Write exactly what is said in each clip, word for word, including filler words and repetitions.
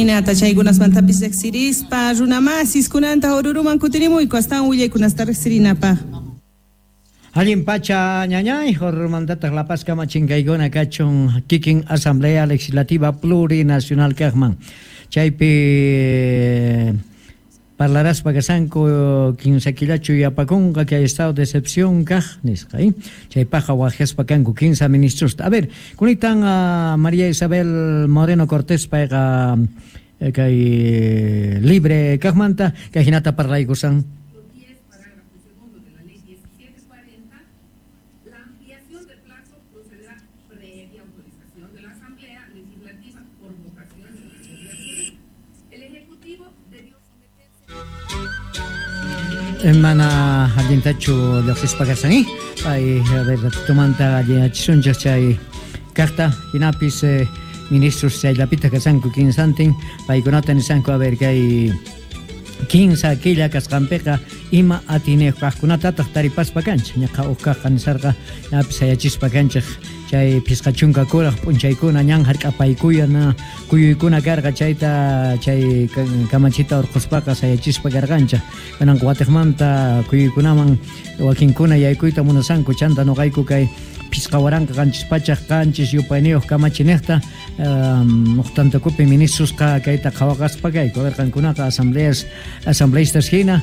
Hinata chaykunasmantapis riqsirispa runamasis kunanta Oruruman kutirimuyku astawan willaykunasta riqsirinapaq. Allin pacha ñañay, Orurumantataq La Paz kama chinkaykuna kachun kikin Asamblea Legislativa Plurinacional kaqman. Chaypi parlaraspa kasanku kinsa killachu yapakunqa kay estado de excepción kaq nisqa, ¿eh? Chaypaqqa waqyaspa kanku kinsa ministrosta. A ver, kunitan uh, María Isabel Moreno Cortés payqa kay libre kaqmanta kay hinata parlaykusan. Mana allintachu lluqsispa kasan, eh? Ay, a ver, ratitumanta alliyachisunchik chay kaqta, hinapis eh, ministros chayllapita kasanku kinsantin, paykunata nisanku, a ver, kay kinsa killa kasqanpiqa ima atiniyuq kaqkunatataq taripaspa kanchik, ñaqa uq kaqqa nisarqa ñapis sayachispa kanchik chay phisqa chunka kuraq p'unchaykuna ñan hark'apaykuyana kuyuykuna karqa chayta chay kamachita urquspaqa sayachispa karqanchik. Kunanqa watiqmanta kuyuykunaman wakinkuna yaykuyta munasanku chanta nuqayku kay phisqa waranqa qanchis pachaq qanchis yupayniyuq kamachiniqta uqtantakupi ministrosqa kayta qhawaqaspa kayku. A ver, qankunaqa asambleas asambleístas hina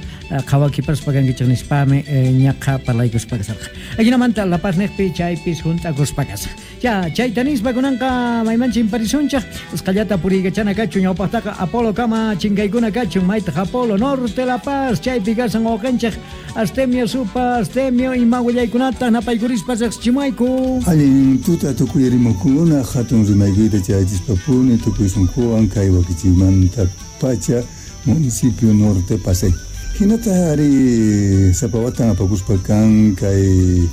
qhawakipaspa kankichik nispami ñaqa parlaykuspa kasarqa. Ajinamanta La Paz niqpi chaypis junt'akuspa kasaq. Ya, chayta nispa kunanqa mayman chimparisunchik usqallata puriykachana kachun ñawpaqtaqa Apolo kama chinkaykuna kachun maytaq Apolo Norte La Paz chaypi kasan wawqinchik Astemio Supa Astemio ima willaykunata napaykurispa riqsichimayku. Allin tuta tukuy hatun rimaykuyta chayachispapuni tukuy sunquwan kay wakichimanta pacha municipio Norte Pasay. Hinata ari sapawatan apakuspa kan kay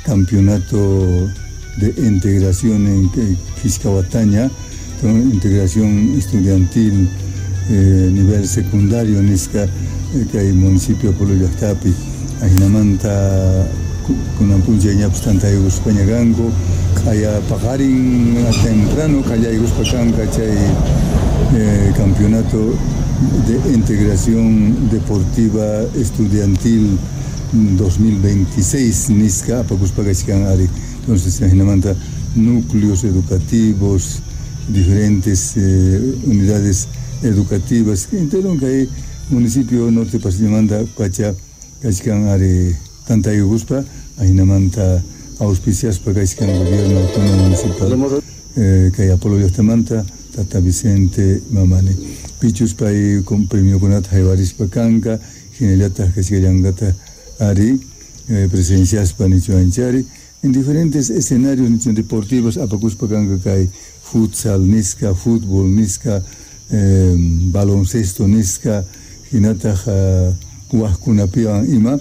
campeonato de integración en Quiscawataña, integración estudiantil eh, nivel secundario nisqa kay municipio Apolo llaqtapi. Ajinamanta kunan p'unchay ñapis tantaykuspa ñakanku q'aya paqarin temprano qallaykuspa kanqa chay eh, campeonato de integración deportiva estudiantil dos mil veintiséis nisqa apakuspa kachkan ari. Entonces ajinamanta núcleos educativos, diferentes eh, unidades educativas entero kay municipio Norte Pasillamanta pacha kachkan ari tantaykuspa ajinamanta auspiciaspa kachkan gobierno autónomo municipal eh, kay Apolo llaqtamanta Tata Vicente Mamani pichus pay con premiokunata haywarispa kanka hinallataq kachkallankata ari eh, presenciaspa nichuanchari en diferentes escenarios nichu deportivos apakuspa kanka kay futsal nisqa, fútbol nisqa, eh, baloncesto nisqa hinataq uh, waqkunapiwan ima.